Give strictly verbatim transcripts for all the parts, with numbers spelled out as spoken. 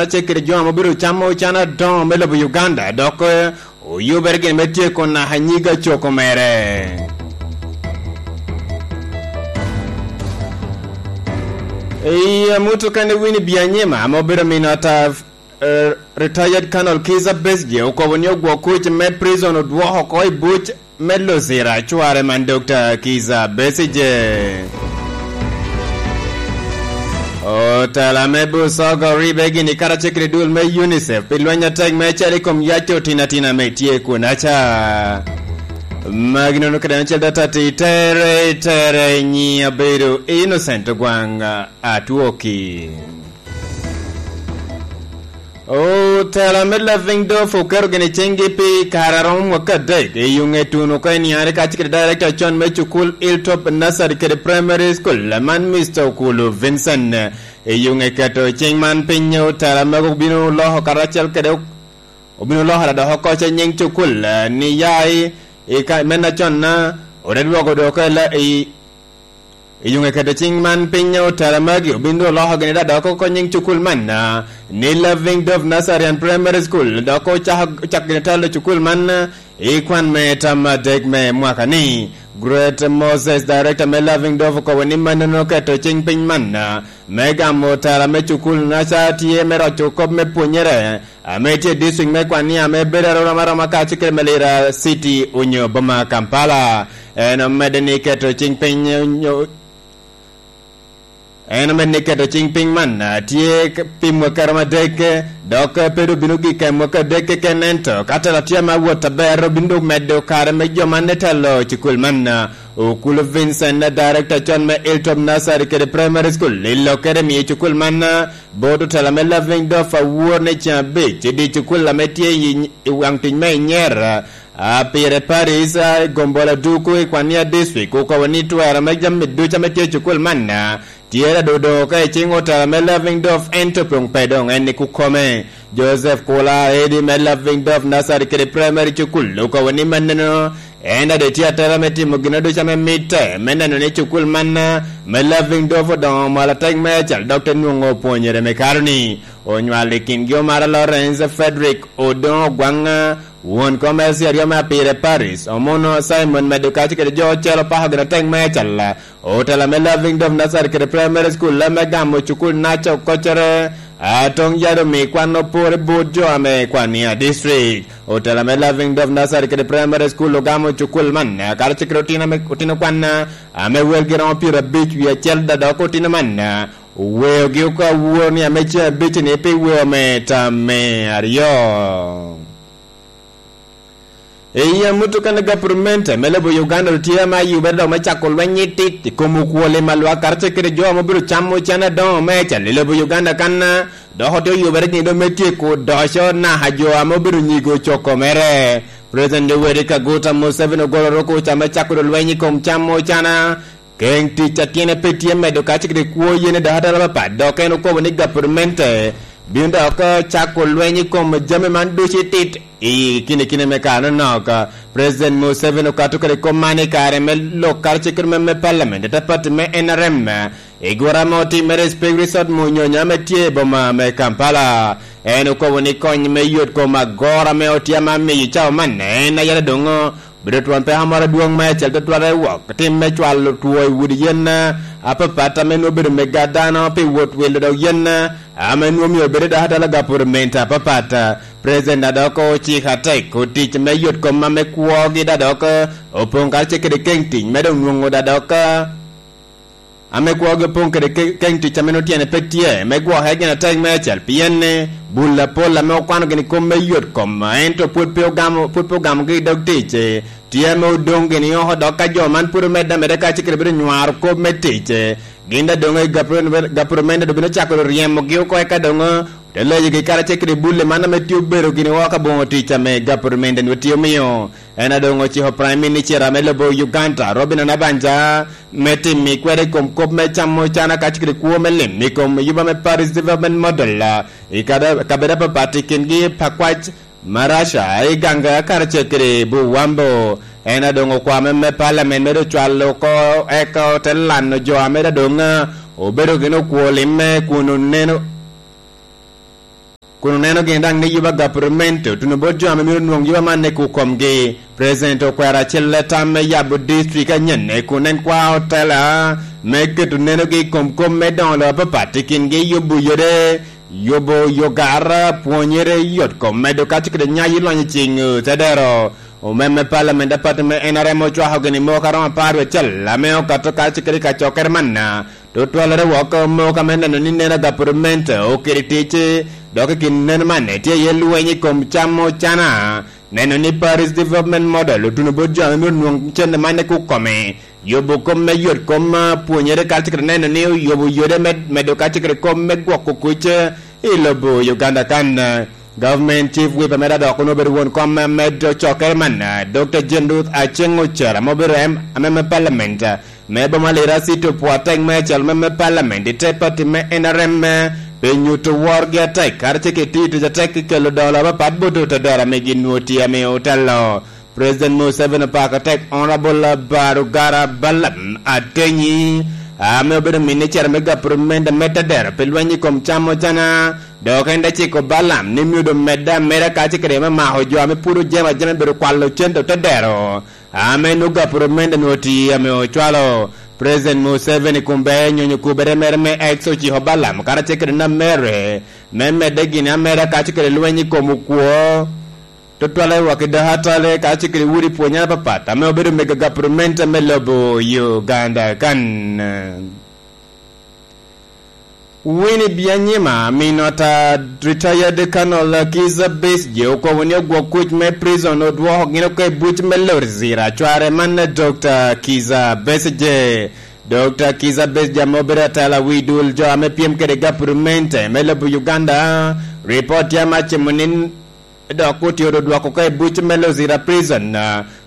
Acel kede jo ame obedo camo can adoŋo me lobo Uganda, dok, eh, oyubere gin me tyeko naka nyiga coko mere. I amuto kene Winnie Byanyima ame obedo min ata, eh, retired Colonel Kizza Besigye okobo ni ogwok kuc me prison odwoko oko i buc me Luzira, cware man Doctor Kizza Besigye. Otela me Busoga oribe gini karacel kede dul me UNICEF pi lweny atek me cal i kom yac otino atina ame tye kunaca. Magi nono kede acel data ti tere, tere nyi abedo Innocent Ogwang Atwoki. Otela me Loving Dove oketo gini ciŋgi pi kare a romo mwaka adek i yuŋe tuno oko i niare kacel kede director con me cukul Hilltop Nursery kede Primary School, man Mister Okulu Vincent. I yuŋe keto ciŋ man piny, otela mego obino loko karacel kede, obino loko dok oko ce nyiŋ cukul, eh, ni ya i, i ka, men acon na, ote dwogo dok ela i, I yuŋe keto ciŋ man piny, otela magi obin dok oloko gini da dok oko nyiŋ cukul man, ah, ni Loving Dove Nursery and Primary School, dok ocako, ocako gini talo cukul man, ah, i kwan me tam adek me mwaka ni. Great Moses, director me Loving Dove, okobo ni mannono oketo ciŋ piny man, ah, me gamo otela me cukul naca tye me roco kop me pwonyere, ame tye i district me Kwania, ame bedo aroma aroma kacel kede Malira City onyo boma Kampala. En omedde ni keto ciŋ piny onyo, en omedde ni keto ciŋ piny man, ah, tye k-, pi mwaka romo adek, dok pe doŋ bino gik i mwaka adek keken, ento ka tela tye ame awot aber, obino doŋ medo kare me jo man ne telo cukul man. Okulu Vincent, director con me Hilltop Nursery kede Primary School, i lokkere miyo cukul man, ah, bot otela me Loving Dove awor ni ceŋ abic i dye cukul ame tye i, i waŋ tic me Inyera, a, pire Paris, a, i Gombola Duku i Kwania District, okobo ni twero me jami ducu ame tye i cukul man, a, tye adodo oko i ciŋ otela me Loving Dove, ento pong pe doŋ en ni kukome. Joseph Kula, edi me Loving Dove Nursery kede Primary Cukul, okobo ni mannono en ade tye atera me timo gin ducu ame mitte, me neno ni cukul man, a, me Loving Dove odoŋo malo atek meicel, dok te nwoŋo pwonyere me karo-ni. Onywalo i kingi omara Lawrence Frederick Odoŋo Ogwaŋ, won kom Elsie aryo me Apire Paris, Omuno Simon medo kacel kede jo ocel opako gin atek meicel. Otela me Loving Dove Nursery kede Primary School, ame gamo cukul naca okoccere, a, toŋ yado omi kwan opore bot jo ame Kwania District. Otela me Loving Dove Nursery kede Primary School ogamo cukul man, a, karacel kede otino ame, otino kwan, a, ame welgi romo pyerabic wie acel, da dok otino man, a, oweogi oko awor ni ame ceŋ abic-ni pi weo me tam me aryo. I amuto kan gapurmente me lobo Uganda tye ame ayubere dok me cako lweny itit i kom okwoli ma lwak karacel kede jo ame obedo camo can adoŋo me cal i lobo Uganda kan, dok otye oyubere gin dok me tyeko odoco naka jo ame obedo nyigo coko mere. President Yoweri Kaguta Museveni ogolo roko ca me cako lweny i kom camo cana. Keŋ tic a tyene pe tye medo kacel kede kwo yen i dok atala apapat, dok en okobo ni gapurmente bino dok cako lweny i kom jami man ducu itit i kine kine me kare anonok. President Museveni okato kede kop man i kare me lok karacel kede mem me Parliament, ata pati me N R M, i gura ame otimere i Spring Resort Munyonyo ame tye i boma me Kampala. En okobo ni kony me yot kom agoro ame otye ame amiyo i cawa man en ayala doŋ bedo twon peko moro adwoŋ meicel tutwal i wok tim me cwalo two i udi yen apapat ame nwoŋo bedo mega dano pi wot wilo dok yen ame nwoŋo mio bedo dok atala gapurumenti apapat. President adok ociko atek otic me yot kom ame kwogi da dok opoŋ karacel kede keŋ tic me doŋ nwoŋo da dok ame kwogi opoŋ kede ke-, keŋ tic ame nwoŋo tyene pe tye, me gwoke gin atek meicel, pien ni bul apol ame okwano gini kom me yot kom, ento pwod pe ogamo, pwod pe ogamogi i dog tic, tye ame odoŋ gini oko, dok ka jo man pwod omedde ameda kacel kede bedo nywaro kop me tic, gin daŋ doŋ i gapuro-, gapurumende doŋ bino cako ryemogi oko, eka doŋ te loyogi karacel kede bulle man ame tye obedo gini oko aboŋo tic ame gapurumende nwoŋo tye omiyo. En a doŋ ociko Prime Minister ame lobo Uganda, Robinah Nabbanja, me timo kwede i kom kop me camo cana kacel kede kwo me lim i kom yuba me Paris Development Model, i kada-, kabedo apapat i kingi Pakwac, Marasha, Iganga, karacel kede Buwambo. En a doŋ okwame me Parliament me doŋ cwalo oko, eka ote lano jo ame da doŋ obedo gin okwo limme kun oneno kun oneno gin daŋ ni yuba gapurumento tuno bot jo ame myero nwoŋ yuba man i kukomgi. President okwero acel tam me yabo district anyen kun en kwa otela me keto nenogi i kom kom me doŋo lobo apapat i kingi, yubo yode, yubo yogar, pwonyere yot kom medo kaco kede nyayo lony i ciŋ tedero. Omemme palamen apati me N R M ocwako gini moko aromo apar wecel ame okato kaco kede kacokere manna. Tutwalere woko moko ame neno ni neno gapurumento okiri tic, dok i kin neno man tye iye lweny i kom cam ocana. Neno ni Paris Development Model otuno bot jo ame myero nwoŋ cente man i kukome, yubo kom me yot kom, pwonyere kaco kede neno ni oyubo yode me medo kaco kede kom me gwoko kuc i lobo Uganda kan. Government Chief Whip ame dok onwoŋo obedo won kom me medo cokere man, Doctor Jane Ruth Aceng Ocero ame obedo em-, ame me Parliament me boma Lira City opwo atek me acel me, me Parliament i te pati me N R M, pe nyuto worgi atek karacel ki tiyo tic atek i kelo dolo apapat bot otodoro ame gin nwoŋo tye ame otelo. President Museveni opako tek Honorable Barugara Balaam Atenyi, ame obedo minicita me gapurumento me tedero pi lweny i kom cam ocana, dok en te ciko Balaam ni myero omedde ameda kaco kede me mako jo ame pwod ojemo ajema i bedo kwalo cente tedero, ame nwoŋo gapurumento nwoŋo tye ame ocwalo. President Museveni kun bea nyonyo kubere mere me X ociko Balaam karacel kede Namere me medde gini ameda kaco kede lweny i kom okwo. Tutwale waki dok atale ka cikiri wudi pwonyere apapat ame obedo mega gapurumenta me lobo Uganda kan. Winnie Byanyima, minota retired Colonel Kiza Besigye, okobo ni ogwok kuc me prison odwoko gin oko i buc me Luzira, cware man Doctor Kiza Besigye. Doctor Kiza Besigye ame obedo atela wi dul jo ame pyem kede gapurumenta me lobo Uganda, ripot tye ame acimo ni dok otye odwoko oko i buc me Luzira Prison,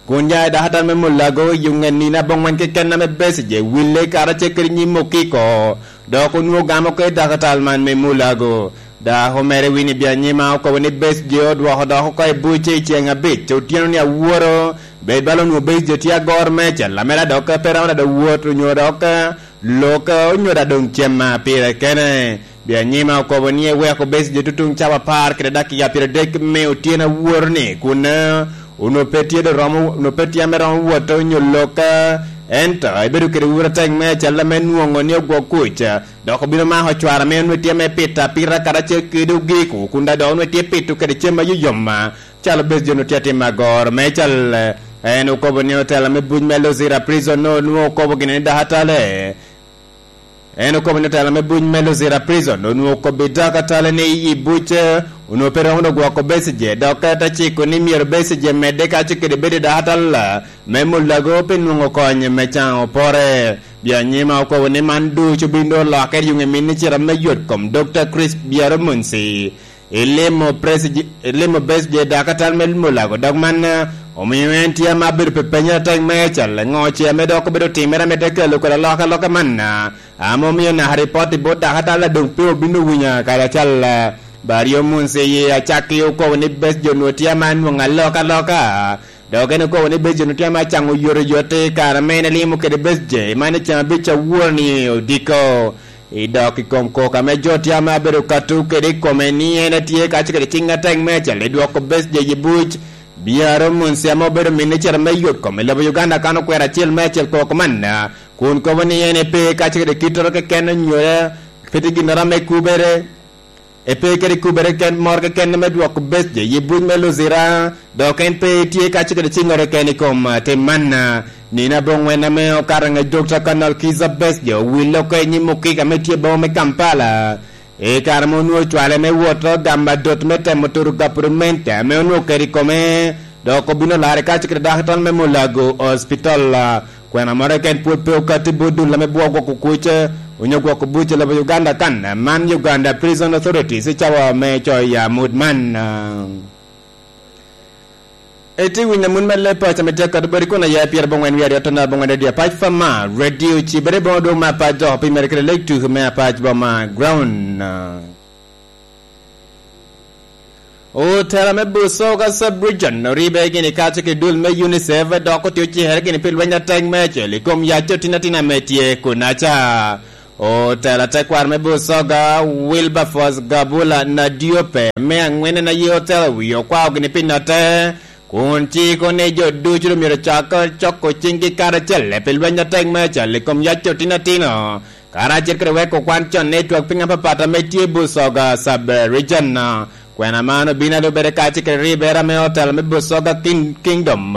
kun ya i dakatal me Mulago i ŋe nino aboŋwen keken ame Besigye wille karacel kede nyim okiko, dok onwoŋo gamo oko i dakatal man me Mulago. Dako mere Winnie Byanyima okobo ni Besigye odwoko dok oko i buc i ceŋ abic otyeno ni aworo, bed bala onwoŋo Besigye tye agor meicel, lamera dok pe romo dada wot onyo dok lok, onyo dada doŋ cem pire kene. Byanyima okobo ni eweko Besigye tutuŋ cawa apar kede dakika pyeradek me otyeno awor-ni, kun, eh, onwoŋo pe tye dok romo, onwoŋo pe tye ame romo wot onyo lok, eh, ento ebedo kede wura tek me acel ame nwoŋo ni ogwok kuc, eh, dok obino mako cwara ame onwoŋo tye ame pito apita karacel kede ogiko, kun daŋ dok onwoŋo tye pito kede cem ayoyom, eh, calo Besigye onwoŋo tye atimo agoro. Me cal, eh, en okobo ni otela me buc me Luzira Prison onwoŋo okobo gini ni dok atale, En okobo ni otela me buc me Luzira Prison onwoŋo okobbi dok atale ni i buc, eh, onwoŋo pe romo dok gwoko Besigye, dok te ciko ni myero Besigye medde kaco kede bedo i dok atala me Mulago pi nwoŋo kony me caŋo opore. Byanyima okobo ni man ducu bino olokke i yuŋ i minicita me yot kom Doctor Chris Byaro Munsi. Ilimo Besigye, ilimo Besigye dakatal me Mulago, dok man, eh, omiyo en tye ame abedo pe penyo atek me cal, ŋo ce ame dok obedo timere ame te kelo kede alokaloka man, eh, ame omiyo naka ripot i bot dakatal a doŋ pe obino winyo kadi acal, eh, Bario Munsi acakki okobo ni Besigye onwoŋo tye ame anwoŋo alokaloka. Dok en okobo ni Besigye onwoŋo tye ame acaŋo oyotoyot i kare ame en elimo kede Besigye, man i ceng abic awor ni odiko. I dok i kom kok ame jo tye ame abedo kato kede i kome ni en etye kaco kede ciŋ atek me acel i dwoko Besigye i buc, Byaro Munsi ame obedo minicita me yot kom i lobo Uganda kan okwero acel me acel kok manna, kun kobo ni en epe kaco kede kittoro keken onyo pe tye ginnoro ame kubere. Epe kede kubere ken moro keken me dwoko Besigye i buc me Luzira, dok en pe tye kaco kede ciŋŋoro keken i kom, ah, tim man, ah, nino aboŋwen ame okato ŋec Doctor Colonel Kizza Besigye owille oko i nyim okika ame tye boma me Kampala. I kare ame onwoŋo cwale me wot gamo adot me temo turo gapurumenti ame onwoŋo oketo i kome, dok obino larre kaco kede dakatal me Mulago Hospital. Kwena moro keken pwod pe okatti bot dul ame bwoo gwoko kuc, onyo gwoko buc i lobo Uganda kan, man Uganda Prison Authorities i cawa me coyo amut man. Eti winyo amut me leb paco ame tye akato boti kun aye pyer aboŋwen wiye aryo tona aboŋwen radio apac pa ma radio cibere boŋo dwong me apac dok pi mere kede lek tuku me apac boma ground. Otela me Busoga Sub-Region oribe gini kaco ki dul me UNICEF dok otye ocikere gini pi lweny atek me acel i kom yac otin atin ame tye kunaca. Otela tekwaro me Busoga, Wilberforce Gabula Nadiope, me aŋwen en aye otelo wie okwao gini pi notte, kun ciko ni jo ducu doŋ myero cak coko ciŋgi karacel pi lweny atek me acal i kom yac otin atino, karacel kede weko kwan con ni twak piny apapat ame tye i Busoga Sub Region. Kwena man obino alubere kacel kede ribere ame otelo me Busoga King-, Kingdom,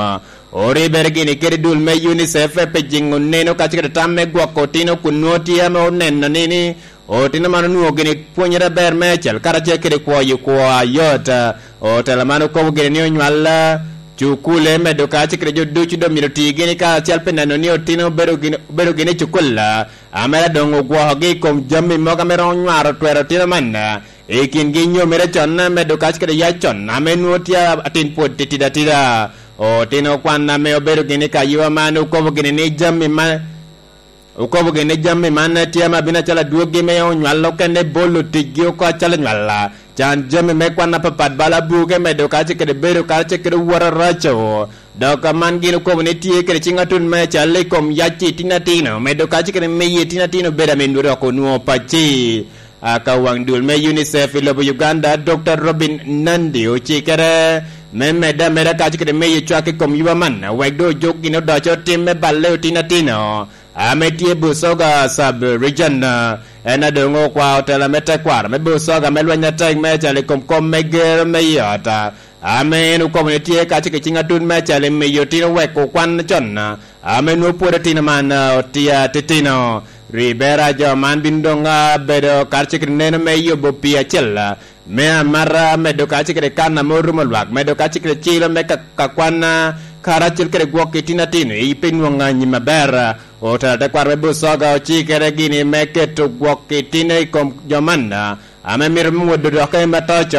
oribere gini kede dul me UNICEF pi jiŋo neno kacel kede tam me gwoko otino kun nwoŋo tye ame oneno ni, ni otino man onwoŋo gini pwonyere aber me acel karacel kede kwoyo kwo ayot. Otelo man okobo gini ni onywal cukule medo kacel kede jo ducu doŋ myero ti gini karacel pi neno ni otino obedo gini, obedo gini i cukul, ame doŋ ogwokogi i kom jami mogo ame romo nywaro twero otino man. I kingi nyomere con, medo kac kede yac con, ame nwoŋo tye atin pwod titidi atida. Otino kwan ame obedo gini ka yua man okobo gini ni jami ma, okobo gini ni jami man tye ame abino acalo adwoggi me onywal okene bolo ticgi oko acalo nywal. Can jami me kwan apapat bala buke medo kac kede bedo kac kede woro raco. Dok man gin okobo ni tye kede ciŋ atut me cal i kom yac i tin atino, medo kac kede miyo i tin atino bedo ame nwoŋo dok onwoŋo pacci. Aka waŋ dul me UNICEF i lobo Uganda, Doctor Robin Nandi ocikere me medde ameda kac kede miyo cwak i kom yuba man, wek doŋ ojuk gin odoco tim me balle otin atino, ame tye Busoga Sub Region. En adoŋo okwa otela me tekwaro me Busoga me lweny atek me acel i kom kom me gero me i ot, ame en okobo ni tye kac kede ciŋ atut me acel i miyo otino weko kwan con, ame nwoŋo pwod otino man, ah, otye atitino. Ribera jo man bino doŋ, ah, bedo karacel kede neno me yubo pii acel, ah, me amata, medo karacel kede kan ame orumo lwak, medo karacel kede cilo me ka, ka kwan, ah, karacel kede gwok i tin atino i pi nwoŋo anyim aber. Otela tekwaro me Busoga ocikere gini me keto gwok i tin i kom jo man, ah, ame mito mwodo dok i matoco,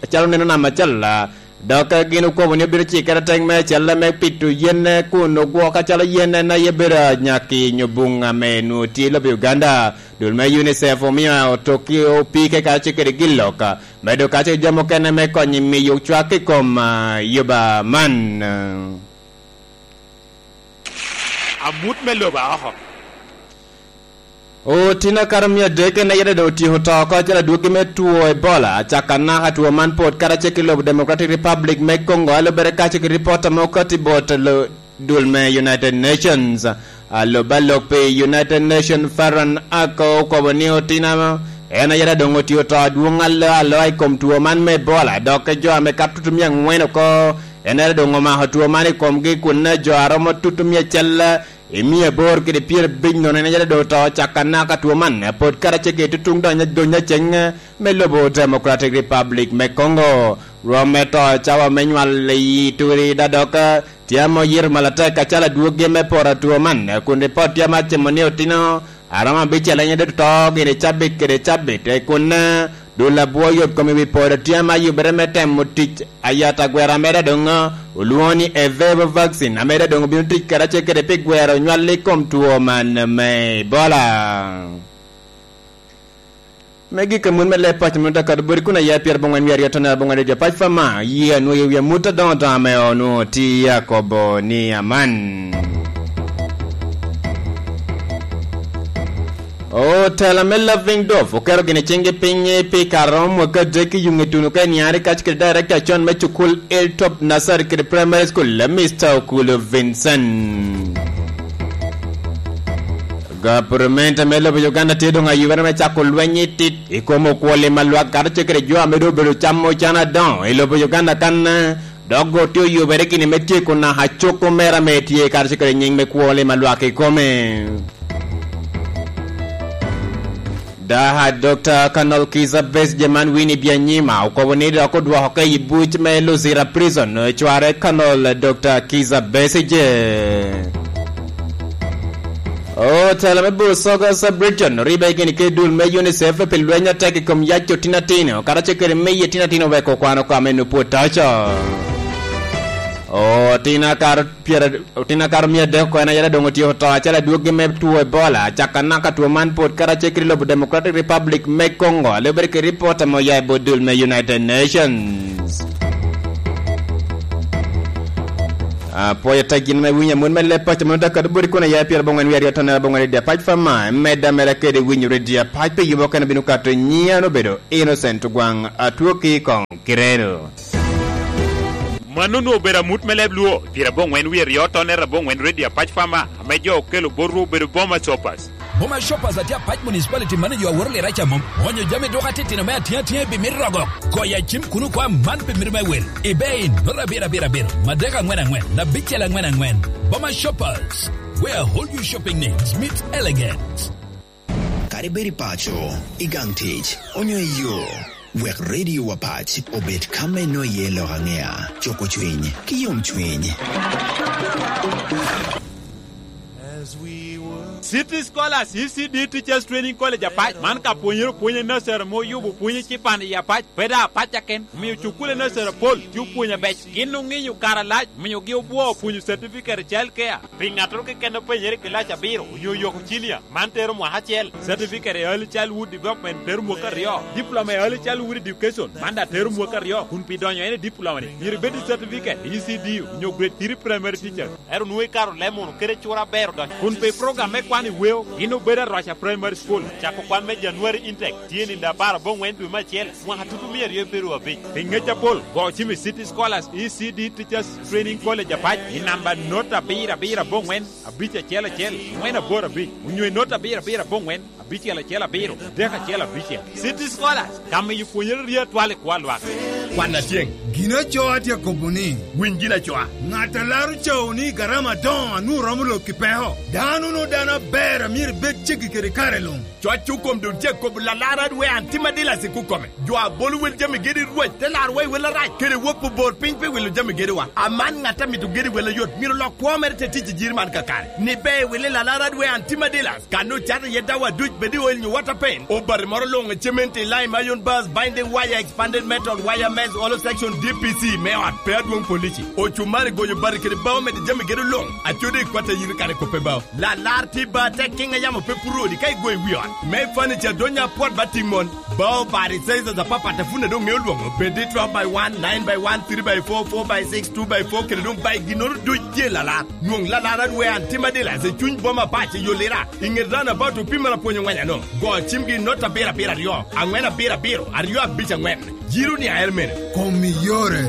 acalo neno nam acel, ah, dok gin okobo ni obino cikere teŋ me acel me pito yen kun ogwok acalo yen en aye bedo anyaki nyo buŋ ame nwoŋo tye i lobo Uganda. Dul me UNICEF omio otokki opike kacel kede gin lok, medo kacel jami okene me konyo i miyo cwak i kom, ah, yuba man. Amut me lobo aoko. Otino akato mia adek en aye doŋ otyeko to oko acalo adwogi me two Ebola, acaka naka two man pwod karacel ki lobo Democratic Republic me Congo, a lubere kacel ki ripot ame okatti bot lo-, dul me United Nations. Alub alok pi United Nations Farhan Haq okobo ni otino en aye doŋ otye oto adwoŋ alo aloa i kom two man me Ebola, dok jo ame kato tutumia aŋwen oko en aye doŋ omako two man i komgi, kun jo a romo tutumia acel i mia aboro kede pyerabic nono en aye doŋ oto caka naka two man, pwod karacel ki tutuŋ doŋ, doŋ aceng me lobo Democratic Republic me Congo. Rwom me to cawa me nywal i Ituri da dok tye ame oyito malatek acalo adwogi me poro two man, kun ripot tye ame acimo ni otino a romo abicel en aye doŋ to gire cabit kede cabit, kun dul abwo yot kom i wi podo tye ame ayubere me temo tic ayat agwera ame doŋ olwoŋo ni Evevo vaccine, ame doŋ obino tic karacel kede pi gwero nywal i kom two man me Ebola. Me gik amut me leb paco mot akato boti kun aya pyerabongwen wie aryo tonera bongwen aryo jo pac pa ma, yie anwoyo wi amut adoŋo doŋ ame onwoŋo tye akobo ni aman. Otela me Loving Dwarf oketo gini ciŋgi piny pi kare romo mwaka adek i yuŋ ituno ka iniari kac kede director acon me cukul Hilltop Nursery kede Primary School, Mister Okulu Vincent. Gavumenti me lobo Uganda tye doŋ ayubere me cako lweny i tit i kom okwoli ma lwak kato ce kede jo ame doŋ obedo camo can adoŋo i lobo Uganda kan, dok tye oyubere gini me tyeko naka coko mere ame tye kato ce kede nyiŋ me kwoli ma lwak i kome. Daha Doctor Colonel Kizza Besigye man Winnie Byanyima okobo ni dok odwoko ka i buc me Luzira Prison, cware Colonel Doctor Kizza Besigye. Otela me Busoga Sub-Region oribe gini kede dul me UNICEF pi lweny atek i kom yac otin atino, kara ce kede miyo otin atino weko kwano kame nupwo toco. Otin akar pyera-, otin akar mia adek oko en aye doŋ otyeko to acalo adwogi me two Ebola, caka naka two man pwod karacel kede lobo Democratic Republic me Congo, a lubere kede ripot ame oya i bot dul me United Nations. Apwoyo atek gin me winyo amut me leb paco mano dakado boti kun aya pyer aboŋwen wie aryo tonere aboŋwen redio apac fa ma, medda mera kede winyo redio apac pi yubo kene bino kato nyian obedo Innocent Ogwaŋ, atwo ki koŋ kireno. Mano onwoŋo obedo amut me leb Luo, pyer aboŋwen wie aryo tonere aboŋwen redio apac fa ma, ame jo okelo botwu obedo Boma Shoppers. Boma Shoppers atye apac municipality mano jo aworo lira ca mom. Onyo jami duka titino me atinga tinga i bimit rogo. Goyo acim kuno kwa man pi mito me wel. Ibe in, nota abiro abiro abiro, madek angwen angwen, abicel angwen angwen. Boma Shoppers, where all your shopping needs meet elegance. Kadi bed i paco, i gang tic, onyo i yo, wek Radio Wapac obed ka me no iye lok aŋea, coko cwiny, ki yom cwiny. City Scholars, E C D Teachers Training College Apac, man ka pwonyere opwony i nursery ame oyubo pwony i cipan i Apac, pe daŋ Apac aken, omio cukule nursery apol tye opwony abec. Gin oŋinyo kare alac, omiogi obwoo opwonyo certificate i child care. Pi ŋattoro keken openyere i kilac abiro onyo oyoko cinia, man tero mwaka acel. Certificate i Early Childhood Development tero mwaka aryo. Diploma i Early Childhood Education, man daŋ tero mwaka aryo. Kun pi donyo en i diploma-ni, myero ibed i certificate i E C D onyo grade three primary teacher. Ento nwoŋo ikato leb munu kede cura aber odonyo. Kun pi program me kwano i weo, gin obedo Aroca Primary School. Cako kwan me January intake tye nino apar aboŋwen dwe me acel, mwaka tutu mia aryo pyeraryo abic. Pi ŋec apol, go cim i City Scholars E C D Teachers Training College Apac i namba not abiro abiro aboŋwen, abic acel acel, ŋwen aboro abic, onyo i not abiro abiro aboŋwen, abicel acel abiro, adek acel abicel. City Scholars, ka miyo pwonyere rye atwal i kwo a lwak. Kwan atyeŋ. Gin aco atye akobo ni, winy gin acoa. Ŋat a laro cawo ni garama adoŋo a nwoŋo romo lok i peko. Dano no dano aber a myero ibed ceggi kede kare luŋ. Cwacco kom doŋ tye akobo lalar adwe an tim adilac i kukome. Jo a bolo wel jami gedi Rwot te laro wa i wel arac, kede wok obor piny pi wilo jami gediwa. Aman ŋat a mito gedi wel ayot, myero lok kwo mere te tic i jiri man kakare. Ni ber wili lalar adwe an tim adilac. Kan ocato iye dawa duc bed i oil nyo water paint, obati moro luŋ i cement i lime, iron bars, binding wire, expanded metal, wire mesh, hollow section, D P C me ot, pe adwoŋ polici, ocumari, goyo bati kede bao, medo jami gedo luŋ, acodi i kwat a yito kare kop pe bao. Lalar tye ba tek kiŋ a yamo pe puro odi ka igoyo i wi ot. Me furniture donya apwot ba tiŋ mon. Bao bati sizes apapat a pwod doŋ ŋeo lwoŋo, bed i twelve by one, nine by one, three by four, four by six, two by four, kede doŋ by ginnoro duc tye lalar. Nwoŋ lalar adwe an tim adilac i cuny boma pac i yo Lira, i ŋet roundabout opimere apwony oŋweny ano. Go cimgi i not abiro abiro aryo, aŋwen abiro abiro, aryo abic aŋwen. Jiro ni aer mene. Kom i yore.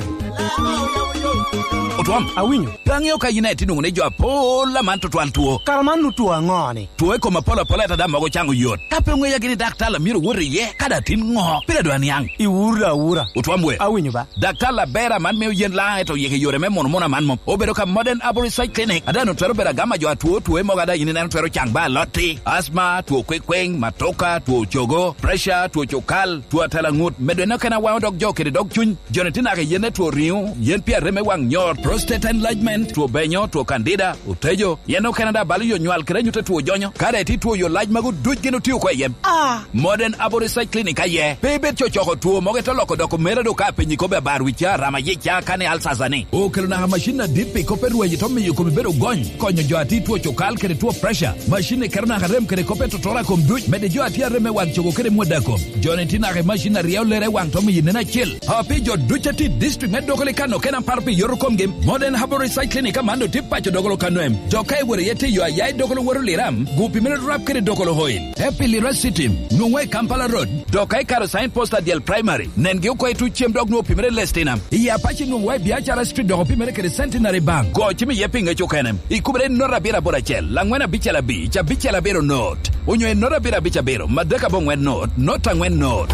Otwom. Awinyo. Pe aŋeo ka yin aye tye nwoŋo ni jo apol aman tutwal two. Kara man nu two aŋo-ni? Two i kom apol apol ata mogo caŋo yot. Ka pe oŋeya gini daktar a myero wot iye, ka daŋ tin ŋo? Pire dwa niaŋ. Iwuro awura. Otwom we. Awinyo ba. Daktar aber aman mio yen laŋ eto yeke yore me mono mono aman mom. Obedo ka Modern Arborist Side Clinic. Ada no twero bedo agama jo atwo two mogo ada yin ineno twero caŋ ba alotti. Asma, two kwekweŋ, matoka, two cogo, pressure, two cukal, two atela ŋut. Medo eno kena waŋo dog jo kede dog cuny. Joni tye naka i yen etwo riŋo, yen pi arem me waŋ nyor, prostate enlargement, two benyo, two candida, otejo. Yen okene daŋ balo yo nywal kede anyut etwo jonyo. Ka daŋ itye two yo lac magu duc gin otio oko i yen. Ah! Modern Arborist Side Clinic aye. Pe ibed cocoko two mogo ito loko doko mera do ka apenyi kobe abar wicca, rama yica, kane alsasa ni. Okelo naka macin adit pi kop erwaji to miyo komi bedo gony. Konyo jo atye two cukal kede two pressure. Macin ni keto naka rem kede kop etotoro a kom duc. Mede jo atye arem me waŋ cogo kede mwada kom. Joni tye naka i macin a ryeo lere i waŋ to miyo nen acel. A pi jo duc a tye i district me Dokoli kano kena paro pi yoto komgi, Modern Herbal Recycling i Kamando tye paco Dokolo Kanwem. Dok ka iworo iye tye yo aya i Dokolo woto Liram, gu pi mene rap kede Dokolo Oil. Te pi Lira City, nwoŋwa i Kampala Road. Dok ka ikaro sign post adyel primary, nengi oko i tuc cem dok nwoŋo pi mene Lestina. I Apache nwoŋwa i Biacara Street dok pi mene kede Centenary Bank. Go cim iye pi ŋec okene. Ikubere i not abiro aboro acel, angwen abicel abic, abicel abiro not. Onyo i not abiro abic abiro, madek aboŋwen not, not angwen not.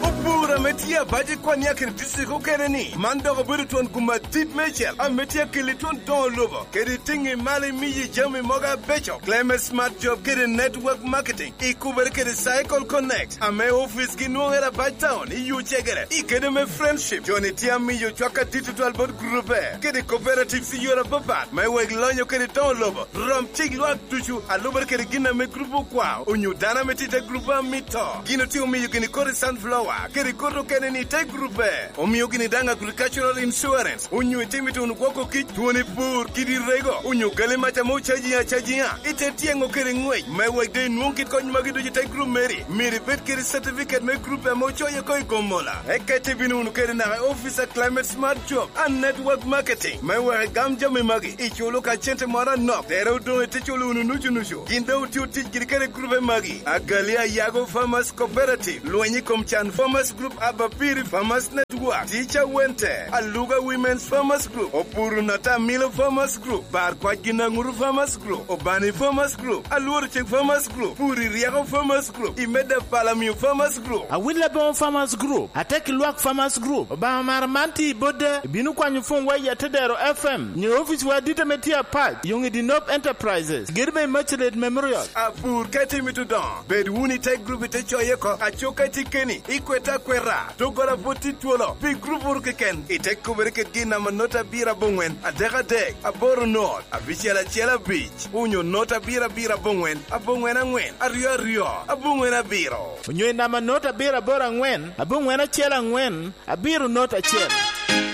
Opur ame tye abac i Kwania kede district okene ni, man dok obedo twon gum adit meicel ame tye akeli twon doŋo lobo, kede tiŋi malo imiyi jami mogo abeco, Climate Smart Job kede Network Marketing, ikubere kede Cycle Connect, ame ofice gi nwoŋere abac town i Yucegere, i kede me Friendship. Joni tye amiyo cwak adit tutwal bot groupe, kede cooperatives i yore apapat, me wek lonyo kede doŋo lobo. Rom cik lwak ducu a lubere kede gin ame grup okwao, onyo dano ame tye i te grup a mito. Gin otye omiyo gini kodi sunflower, kede kodi Kene ni te grupe omio gini daŋ agricultural insurance, onyo itimo ituno gwoko kic, twoni pur, kidi rego, onyo gali mac ame ocaji acajiŋa, ite tyeŋo kede ŋwec me wek doŋ inwoŋ kit kony magi ducu i te grup meri. Myero ibed kede certificate me grupe ame ocoye oko i Gomola. Eka ite bino wunu kede naka i office a Climate Smart Job and Network Marketing me wek igam jami magi, iculo ka cente moro anok, tere odoŋ ite culo wunu nucu nucu. Gin doŋ otio tic giri kede grupe magi: Agali Ayago Farmers Cooperative, Lweny i kom Can Farmers Group, Abapiri Farmers Network, Teacher Wente, Aluga Women's Farmers Group, Opuru Natamilo Farmers Group, Bar Kwac Ginaŋuru Farmers Group, Obani Farmers Group, Alworo Cik Farmers Group, Puri Ryeko Farmers Group, Imeda Palamio Farmers Group. Awil Aboŋo Farmers Group, Atek Lwak Farmers Group, Obaŋa Mara man tye i Bodda, ibino kwanyo pwony wa i Atedero F M, nyo ofice wa adit ame tye apac, Yoŋ i Dinop Enterprises, giri me Macelet Memorial. Apur ka itye mito dongo, bed wunu i te grup ite coye oko, aco ka itye keni, ikwete akweta, doggoro apwod tye twolo, pi grup oro keken, ite kubere kede gin namba not abiro aboŋwen, adek adek, aboro not, abicel acel abic, onyo not abiro abiro aboŋwen, aboŋwen aŋwen, aryo aryo, aboŋwen abiro. Onyo i namba not abiro aboro aŋwen, aboŋwen acel aŋwen, abiro not acel.